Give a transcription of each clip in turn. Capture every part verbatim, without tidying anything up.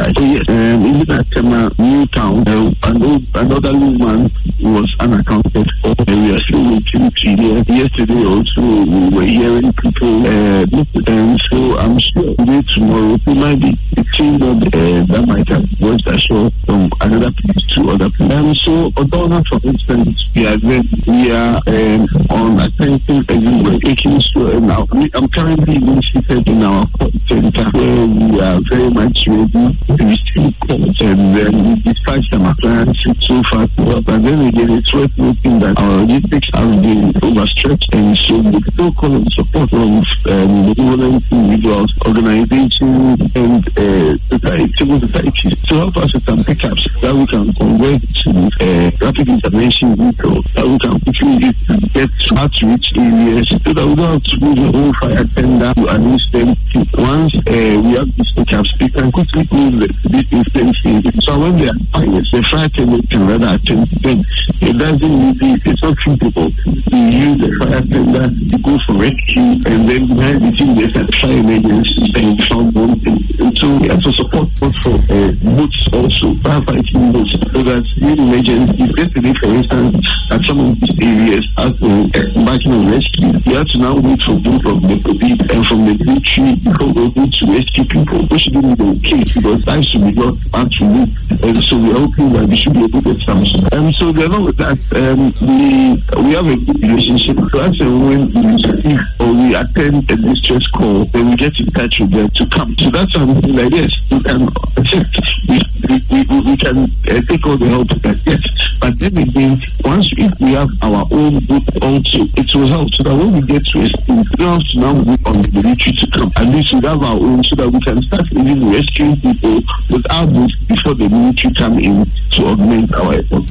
died. So yes, um, even at Tema New Town, uh, an old, an elderly man was unaccounted for. Uh, we are still waiting to hear. Yesterday also, we were hearing people, uh, and so I'm sure today, tomorrow, we might be seeing that, uh, that might have washed ashore from another place to other place. Um, so, Odona, for instance, we are very, we are um, on attention everywhere, making sure now. I'm currently being seated in our call center where we are very much ready to receive calls, and then we dispatch some appliances so far. But then again, it's worth noting that our logistics have been overstretched, and so we still call on support from um, benevolent individuals, organizations, and uh, society, civil society to help us with some pickups that we can convert to uh, rapid intervention vehicles that we can quickly use to get to outreach areas so that we don't have to move the whole fire tender to an instant. Once uh, we have these pickups, we can quickly move the, this instant. So when they are fires, the fire tender can rather attend to them. It doesn't really, it's not feasible to use the fire tender to go for rescue and then behind the scene there's a fire emergency and found one thing. And so we have to support for uh, boats also, firefighting boats, so that in emergency, yesterday for instance, at some of these areas, as the embarking on rescue, we have to now wait for both from the police and from the military before we're able to rescue people, which shouldn't be okay because lives should be not hard to move. And so we are hoping that we should be able to get some. And so along with that, um, we we have a good relationship. So as and when we receive or we attend a distress call, then we get in touch with them to come. So that's something like yes, we can accept. We we, we, we can uh, take all the help we can get. But then again, once if we have our own boat also, it will help so that when we get to a state, we don't have to now wait on the military to come. At least we have our own so that we can start even rescuing people with our boats before the military come in to augment our effort.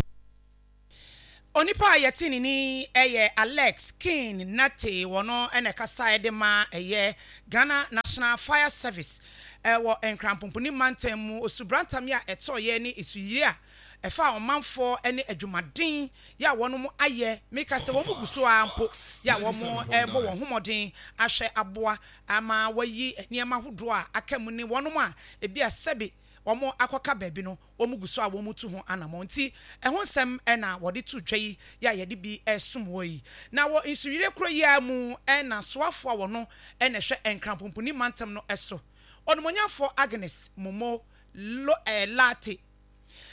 Onipa a yɛte ne ni ɛyɛ Alex King Nate, wɔno ɛna ɛkasa de ma ɛyɛ Ghana National Fire Service ɛwɔ Nkrampomponi mantam mu. Osubrantam yi a ɛtɔɔyɛ ne esuyiri a ɛfa ɔmanfoɔ ne adwumaden yɛ a wɔn ayɛ, meka sɛ wɔn gu so a mpo yɛ a wɔn ɛrebɔ wɔn ho mmɔden ahwɛ aboa ama wɔayi nneɛma ahodoɔ a aka mu ne wɔn a ebi a sɛbi wɔn akɔka baabi no, wɔn gu so a wɔn tu ho anammɔn. Nti ɛho nsɛm ɛna wɔde to dwa yi yɛ a yɛde bi ɛsom wɔ yi. Na wɔ nsuyire kuro yi a mu ɛna soafoɔ a wɔno ɛna ɛhwɛ Nkrampomponi mantam no ɛso, ɔnomonyamfoɔ Agnes Momo Lo ɛɛ Laate,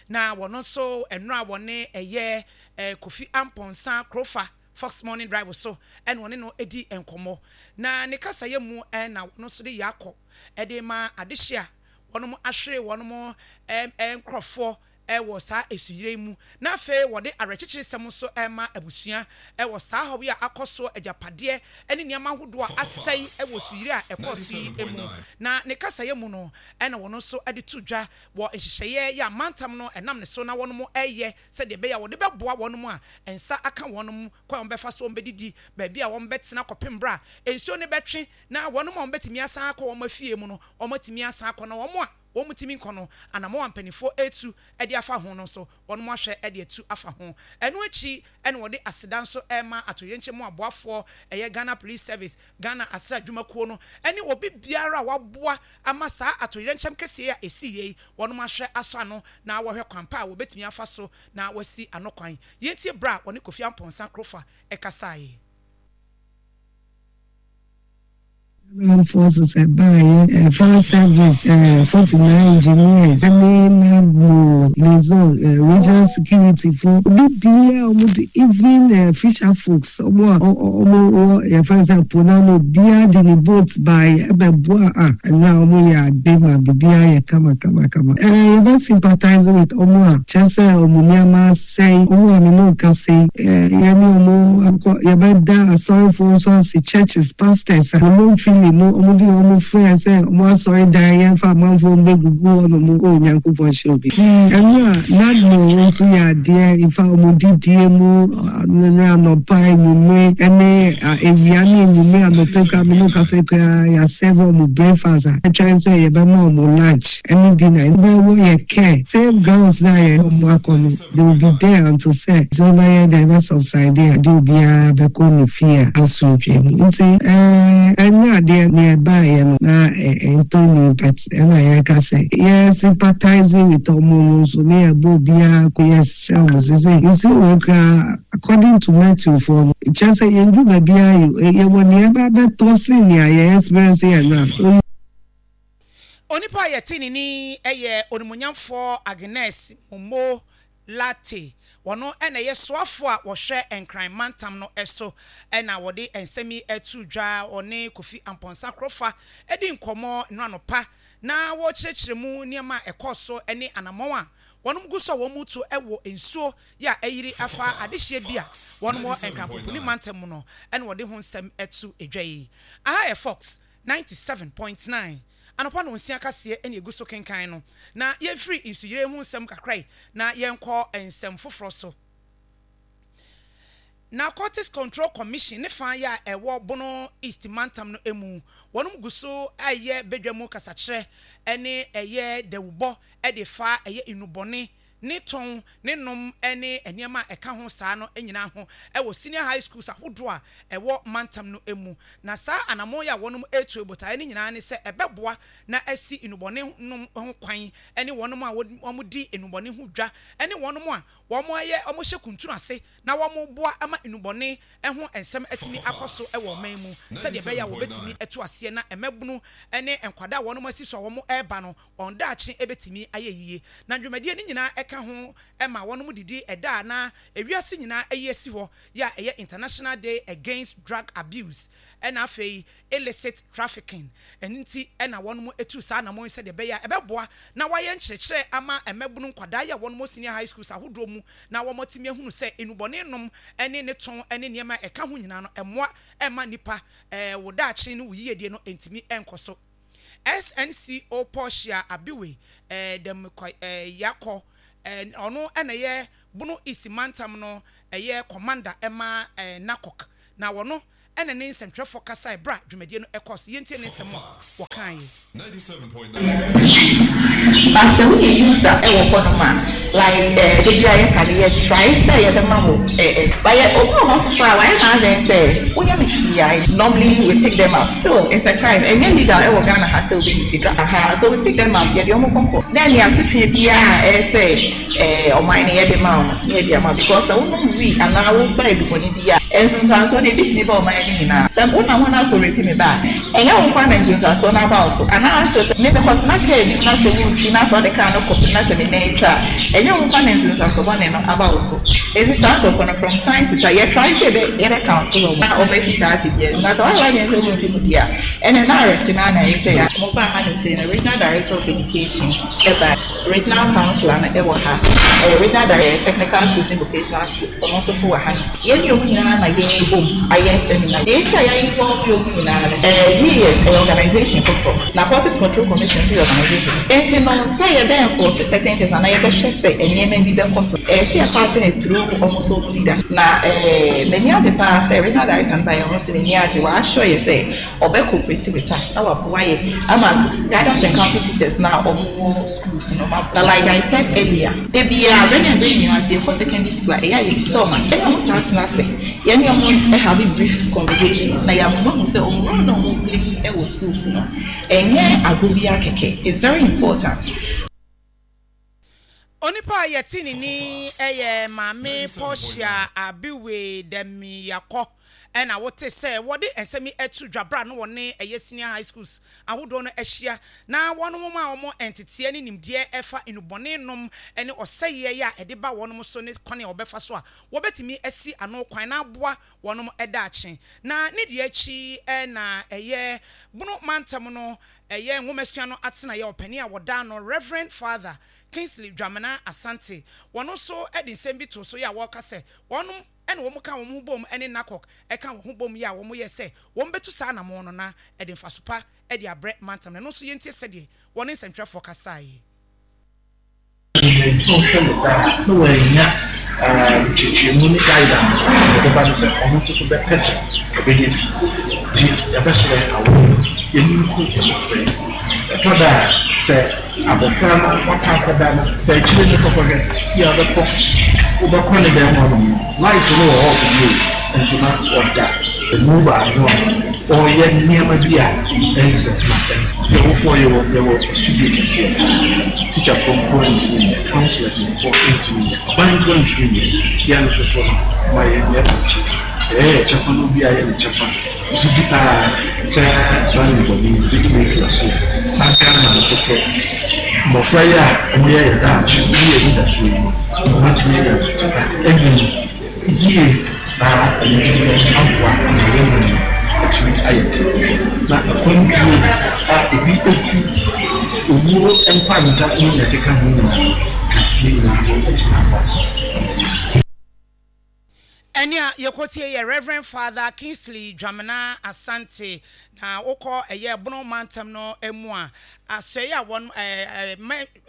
na wɔn nso nnora wɔne ɛyɛ ɛɛ Kofi Amponsa Krofa Fox Morning Drive so ɛna wɔne no edi nkɔmɔ. Na ne kasayɛ mu ɛna wɔn nso de yɛ akɔ ɛde ma adehyia wɔn ahwere wɔn ɛɛ ɛɛ nkorɔfoɔ ɛwɔ saa esuyire mu, na afei wɔde awerɛkyekyere sɛm nso ɛma abusua ɛwɔ saa hɔ yi a akɔ so, agyapadeɛ ɛne nneɛma ahodoɔ a asɛe ɛwɔ suyire a ɛkɔɔ so yi mu. Na ne kasayɛ mu no, ɛna wɔn nso ɛde to dwa wɔ nhyehyɛeɛ yɛ amantam no ɛnam ne so na wɔn ɛyɛ sɛdeɛ ɛbɛyɛ a wɔde bɛboa wɔn a nsa aka wɔn mu, kwan a wɔn bɛfa so wɔn bɛdidi, baabi a wɔn bɛtena kɔpem bra nsuo no bɛtwe, na wɔn a wɔn bɛtumi asan akɔ wɔn afie mu no, wɔn atumi asan akɔ, na wɔn a wɔn tumi nkɔ no, anamɔ a mpanimfoɔ etu ɛde afa ho no nso, wɔn ahwɛ ɛde atu afa ho. Ɛno akyi ɛna wɔde aseda nso ɛma atoyerɛnkyɛm mu aboafoɔ, ɛyɛ Ghana Police Service, Ghana asra adwumakuo no, ɛne obi biara a waboa ama saa atoyerɛnkyɛm kɛseɛ a esi yie yi, wɔn ahwɛ asɔ ano na wɔhwɛ kwan pa a wɔbɛtumi afa so na wɔasi ano kwan. Yɛntie bra a wɔne Kofi Amponsa Krofa ɛkasaeɛ. Armed Forces ɛbaayɛ, Fire Service, uh, forty-nine Engineers, ɛne NADMO, liaison, uh, regional security fo, obi biara ɔmo de, even uh, fisher folks, ɔmo a ɔmo wɔ yɛfrɛ sɛ po n'ano, obiara de ne boat baayɛ ɛbɛboa a ɛnna ɔmo yɛ ade ma biribiara yɛ kama kama kama. Ɛɛ yɛbɛ sympathize with ɔmo a kyerɛ sɛ ɔmo nneɛma asɛe, ɔmo a me ne kasa yi, ɛɛ yɛne ɔmo akɔ. Yɛbɛda asɔrefoɔ nso ase, churches pastors a ɔmo ntwi mu, ɔmo de ɔmo frɛ sɛ ɔmo asɔre dan yɛmfa amanfoɔ mbɛgugu hɔ nom. O Nyankopɔn hyɛ obi. Ɛno a NADMO nso yɛ adeɛ nfa ɔmo didie mu ne anɔpa, enwumere ɛne ewia ne enwumere, anɔpa kura mi no kasa kura yɛasɛve ɔmo breakfast a ɛtwɛn sɛ yɛbɛma ɔmo lunch ɛne dinner. Ɛbɛwɔ yɛ care same grounds na yɛ ɔmo akɔ no, they will be there until sɛ sɛ ɔbɛyɛ dɛ ɛbɛ subside a de obiara bɛkɔ ne fie a asomdwe mu. Nti ɛɛ ɛnyɛ. Deɛ nea ɛbaeɛ no na ɛntɔ, but ɛna yɛka sɛ yɛ sympathizing with ɔmo no nso ne yɛbɔ obiara ko. Yɛsrɛ ɔmo sɛ sɛ nsuo wɔ koraa, according to Metro foɔ no, kyerɛ sɛ yɛnduru baabiara yi, yɛwɔ nea ɛba bɛtɔ sen nea yɛ experience yɛ no. Onipa a yɛte ne ni yɛ Onimonyamfoɔ Agnes Momo Lartey. Wɔno ɛna ɛyɛ soafoɔ a wɔhwɛ Nkran mantam no so, ɛna wɔde nsɛm yi ɛto dwa. Ɔne Kofi Ampɔnsa Korɔfa ɛdi nkɔmmɔ no anɔpa na wɔrekyerɛkyerɛ mu nneɛma a ɛkɔɔ so ne anammɔn a wɔn gu so a wɔn mu to ɛwɔ nsuo yɛ a ɛyiri afa adehyeɛ bi a wɔn wɔ Nkranpoponi mantam mu no, ɛna wɔde ho nsɛm ɛto edwa yi. Aha yɛ Fox ninety-seven point nine anɔpa no nsia kaseɛ ɛna egu so kenkan no. Na yɛmfiri nsuyire ho nsɛm kakra yi na yɛnkɔ nsɛm foforɔ so. Narcotics Control Commission ne fa yɛ a ɛwɔ Bono East mantam no mu, wɔn gu so ɛyɛ badwa mu kasakyerɛ ɛne ɛyɛ dawubɔ ɛde fa ɛyɛ nnubɔne ne tɔn ne nom ne nneɛma a ɛka ho saa no nyinaa ho ɛwɔ senior high schools ahodoɔ a ɛwɔ mantam no mu. Na saa anammɔn yi a wɔn etu botaeɛ no nyinaa ne sɛ ɛbɛboa na asi nnubɔne nom ho kwan, ne wɔn a wɔn di nnubɔne ho dwa, ne wɔn a wɔn ayɛ wɔn hyɛ kuntun ase na wɔn boa ama nnubɔne ho nsɛm atumi akɔ so wɔ ɔman mu, sɛdeɛ ɛbɛyɛ a wɔbɛtumi atu aseɛ na mmabunu ne nkwadaa a wɔn asi so a wɔn reba no, wɔn daakye bɛtumi ayɛ yie. Na dwumadie no nyinaa ɛka ho ma wɔn didi ɛda a na ewiase nyinaa ayi asi hɔ yɛ a ɛyɛ International Day Against Drug Abuse ɛna afei Illicit Trafficking. Ɛno nti ɛna wɔn etu saa anamɔ yi sɛdeɛ ɛbɛyɛ a ɛbɛboa na wɔayɛ nkyerɛkyerɛ ama mmabunu nkwadaa yi a wɔn senior high schools ahodoɔ mu, na wɔn atumi ahunu sɛ nnubɔne nom ɛne ne tɔn ɛne nneɛma a ɛka ho nyinaa no, ɛmmoa ɛma nipa ɛɛ wɔ daakye no wɔ yiedie no ntumi ɛnkɔ so. S N C O Portia Abiwe ɛɛ dɛm kɔ ɛɛ yakɔ ɛɛ ɔno ɛna ɛyɛ Bono East mantam no ɛyɛ commander ɛma ɛɛ NACOC, na wɔno ɛna ne nsɛntwerɛfoɔ kasa ɛbra dwumadie no ɛkɔ so. Yɛntie ne nsɛm a wɔkaeɛ. But sɛ woyɛ user ɛwɔ hɔnom a, like ɛɛ ebi a yɛka no, yɛ try sɛ yɛbɛma wo ɛɛ but yɛ obi wɔ hɔ soso a wayɛ n'adwene sɛ woyɛ no hwee a, normally we pick them up. Still it's a crime, ɛnyɛ legal ɛwɔ Ghana ha sɛ obi use drug aha, so we pick them up, yɛde wɔn kɔkɔ na ɛne asotwe biara a ɛyɛ sɛ ɛɛ ɔman no yɛde ma wɔn na yɛde ama, because sɛ wonom wee anaa wofa adubɔne bi a, nsunsuansoɔ no ebi tumi ba ɔman no nyinaa. Sɛ wonam hɔ no akɔ rape me ba a, ɛnyɛ wo nkwa na nsunsuansoɔ no aba wo so, anaa sɛ me mekɔtena kaa bi na sɛ wotwi na sɛ ɔde kaa no kɔpem na sɛ me nan atwa a, ɛnyɛ wo nkwa na nsunsuansoɔ bɔne no aba wo so. Eti saa nkurɔfoɔ no, from time to time yɛ try sɛ yɛbɛ yɛbɛ counsel wɔn na wɔbɛfi saa ate bia mu, na sɛ wɔayɛ wadwene sɛ wɔmfi mu bi a, ɛnɛ na arrest no na ɛyɛ sɛ yɛ mo ba ha no sɛ no. Regional Director of Education ɛba, regional councillor no ɛwɔ ha, ɛyɛ regional director technical schools ne vocational schools, ɔno nso so wɔ ha no. Yɛn ne ɔmo nyinaa na yɛn bom ayɛ seminar. Deɛ eti a yɛayɛ involve ɔmo nyinaa no, ɛɛ G E S ɛyɛ organisation foforɔ, Narcotics Control Commission nso yɛ organisation, nti no sɛ yɛbɛ enforce certain things anaa yɛbɛhwɛ sɛ nneɛma bi bɛkɔ so, ɛyɛ sɛ yɛpass ne through ɔmo so ɔmo leadership. Na ɛɛ m'ani agye paa sɛ regional director no ba yɛn ho so, n'ani agye, wɔahyɛ yɛ sɛ ɔbɛ cooperate with us na waboa yɛ ama guidance and counsel teachers na ɔmo wɔ schools no ma. Na like I said earlier, ebi a bɛn na bɛn nyinaa sɛ yɛkɔ secondary school a, ɛyɛ a yɛbisa ɔmo ase ɛna ɔmo taa tena ase, yɛne ɔmo have a brief conversation na yɛamoma ho sɛ ɔmo role na ɔmo play ɛwɔ schools no, ɛnyɛ agorɔ bi akɛkɛ, it's very important. Onipa a yɛte ne ni yɛ Maame Portia Abiwe Dɛmiyakɔ, ɛna wote sɛ wɔde nsɛm yi ato dwabra no, wɔne ɛyɛ senior high schools ahodoɔ no ahyia na wɔn a wɔn nteteɛ ne nimdeɛ ɛfa nnubɔne nom ne ɔsɛeɛ yɛ a ɛde ba wɔn so ne kwan a wɔbɛfa so a wɔbɛtumi asi ano kwan na aboa wɔn daakye. Na ne deɛ akyi ɛna ɛyɛ Bono mantam no ɛyɛ nwomasua no atenaeɛ ɔpanin a wɔda no, Reverend Father Kingsley Dwamena Asante, wɔn nso de nsɛm bi to so yɛ a wɔreka sɛ wɔn ɛna wɔn ka wɔn ho bom ɛne NACOC ɛka wɔn ho bom yɛ a wɔn yɛ sɛ wɔn bɛtu saa anamɔ no na ɛde mfaso pa ɛde abrɛ mantam no. Ɛno nso yɛntie sɛdeɛ wɔne nsɛntwerɛfoɔ kasaeɛ. Sɛ ɔhwɛ no daa na wɔanya nkyerɛkyerɛmu ne guidance a yɛbɛba no sɛ ɔno nso so bɛpɛ sɛ ɔbɛyɛ bi, nti yɛbɛsrɛ awo yɛni nku mmɔfra yi. Ɛtɔ da a, sɛ abɔfra no waka akɔda no fa akyire no kɔkɔhwɛ bi a wobɛkɔ wobɛkɔ ne dɛm hɔ nom no, light no wɔ off bio, nso na ɔda emu baako a Ɔreyɛ nneɛma bi a ɛnsɛ na yɛwofoɔ yɛwɔ yɛwɔ studio kɛseɛ. Tikyafoɔ nko ntumi nyɛ, councillors nko ntumi nyɛ, aban nko ntumi nyɛ. Yɛn nso so no ma yɛn yɛ ɛyɛ yɛ kyɛfa no, bi a yɛ ne kyɛfa didi paa sɛ saa nnubɔne yi bɛtumi atu aseɛ na Ghana nso so mmɔfra yi a wɔyɛ yɛ daakye ne yɛ anidasoɔ yi no, wɔatumi anya ntutupa anyin yie na ɛno nso so aboa ama yɛn mu no atumi ayɛ den na akwantuo a ebi etu owuo nkwanta ne nea ɛkeka ho nyinaa ka ne nyinaa no atumi aba ase. Ɛne a yɛkɔtie yɛ Reverend Father Kingsley Dwamena Asante. Na wokɔ ɛyɛ Bono mantam no mu a, asɔe a wɔn ɛɛ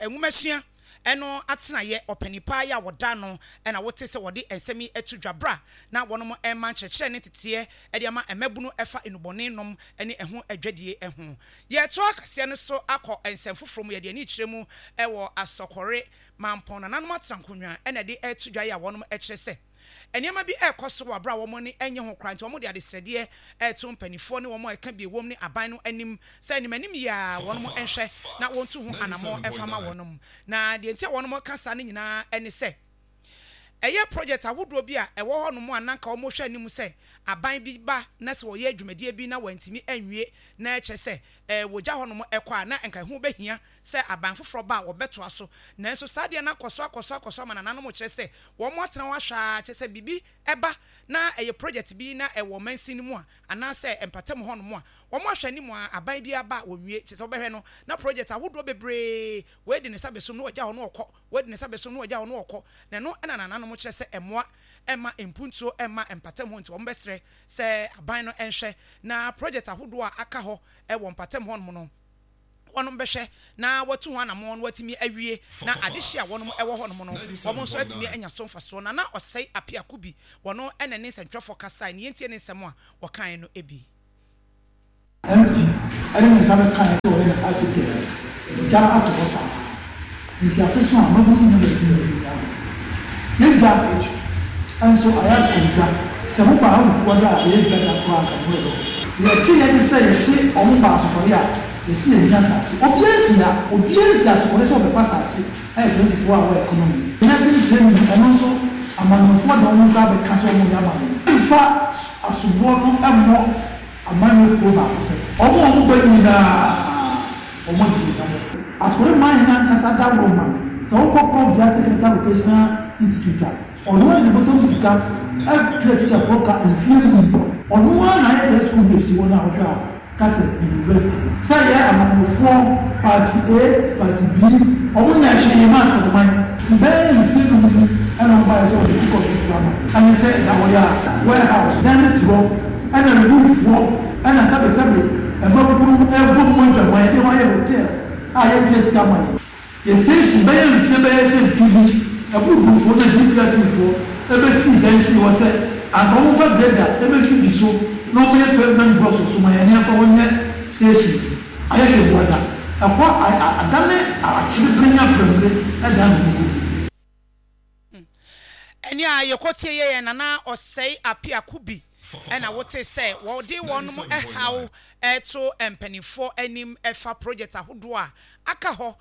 nwomasua ɛno atenayɛ ɔpanipa yi a wɔda no ɛna wote sɛ wɔde nsɛm yi ato dwa bra na wɔnom ɛma nkyerɛkyerɛ ne teteɛ ɛde ama mmabunu ɛfa nnubɔne nom ne ɛho adwadie ho. Yɛtoa kaseɛ no so akɔ nsɛm foforɔ mu. Yɛde ani kyerɛ mu ɛwɔ Asɔkɔre Mampɔn. Nananom atena nkonnwa ɛna ɛde ɛto dwa yi a wɔnom ɛkyerɛ sɛ nneɛma bi ɛrekɔ so wɔ abere a wɔn ani nye ho koraa, nti wɔn de adesrɛdeɛ ɛreto mpanimfoɔ ne wɔn a ɛka bi wɔm ne aban no anim sɛ anim anim yie a wɔn nhwɛ na wɔntu ho anammɔn ɛmfa ma wɔn. Na deɛ nti a wɔn ka saa no nyinaa ɛne sɛ ɛyɛ project ahodoɔ bi a ɛwɔ hɔnom a nanka wɔn hwɛ anim sɛ aban bi ba na sɛ wɔyɛ dwumadie bi na wɔntumi anwie na ɛkyerɛ sɛ ɛɛ wɔgya hɔnom ɛkɔ a, na nka ɛho bɛhia sɛ aban foforɔ ba a wɔbɛtoa so. Nanso saa deɛ no akɔ so akɔ so akɔ so ama nananom kyerɛ sɛ wɔn atena hɔ ahwɛ a, kyerɛ sɛ biribi ɛba na ɛyɛ project bi na ɛwɔ mansin no mu a anaasɛ mpatam hɔnom a, wɔn ahwɛ anim a aban bi aba a wɔnwie. Kyerɛ sɛ wɔbɛhwɛ no na project ahodoɔ bebree, wɔadi ne nsa bɛsom na wɔgya hɔ no wɔkɔ, wɔadi ne nsa bɛsom na wɔgya hɔ no wɔkɔ. Na ɛno ɛna nananom kyerɛ sɛ ɛmmoa ɛma mpuntuo ɛma mpatam hɔ, nti wɔn bɛsrɛ sɛ aban no ɛnhwɛ na project ahodoɔ a aka hɔ ɛwɔ mpatam hɔnom no, wɔnom bɛhwɛ na wɔatu ho anammɔn no wɔatumi awie na adehye a wɔnom ɛwɔ hɔnom no, wɔn nso atumi anya so mfasoɔ. Na na Ɔsɛe Apiako bi wɔno ɛna ne nsɛntwerɛfoɔ kasae ne yɛntie ne nsɛm a wɔkae no bi. M P ɛne ne nsa bɛkaeɛ sɛ wɔyɛ no astroturf, ɔgya no ato hɔ saa, nti afe so a mmabunu no nya baabi na yɛnni agorɔ. Yɛdwa nso ayɛ asɔre dwa. Sɛ moba ha wukuada a ɛyɛ dwa da koraa nka mo werɛ bɛho. Yɛte yɛ ne sɛ yɛse ɔmo ba Asɔkɔre a, yɛse yɛnni asase. Obiara nsi ha, obiara nsi Asɔkɔre sɛ ɔbɛpa asase. Ɛyɛ twenty four hour economy. Nursing training, ɛno nso amanyɔfoɔ de wɔn nsa abɛka sɛ wɔn yɛ ama yɛn. Mfa asoboɔ no mmɔ amanyɔ kuo baako pɛ. Ɔmo a ɔmo ba nyinaa ɔmo di yɛn hwamɔ. Asɔre man hene ankasa da wɔ ma sɛ wokɔ Korɔbea Technical Vocational Institute a, ɔno ara de ne bɔtɔm sika ɛtua tikyafoɔ ka mfie num. Ɔno ara na ayɛ sɛ sukuu no esi hɔ no a wɔhwɛ a ka sɛ university. Sɛ yɛ amanyɔfoɔ party A, party B, ɔmo nyɛ hwee ma asɔreman. Bɛyɛ mfie num ni ɛna ɔmo baayɛ sɛ ɔde si kɔɔso fura ma. Ɛne sɛ ɛda hɔ yɛ a warehouse dan no si hɔ ɛna removefoɔ ɛna sɛbesɛbe mmabunu ɛbɔ mu adwaman, yɛde hɔ ayɛ hotel a yɛtua sika ma yɛn. Yɛ station bɛyɛ mfie bɛyɛ sɛ du bi ɛboro du mpo na G P R P foɔ ɛbɛsii dan sii hɔ sɛ anka wɔmfa grader ɛbɛdwidwi so na wɔyɛ pavement blocks so ma yɛn ne yɛmfa hɔ nyɛ station. Ayɛ hwɛ buada ɛhɔ adane akyerepere ne aprɛmire ɛdan ne ho. Ɛne a yɛkɔtie yɛ yɛn Nana Ɔsɛe Apiako bi ɛna wote sɛ wɔde wɔnom ɛhaw ɛto mpanimfoɔ anim ɛfa project ahodoɔ a aka hɔ.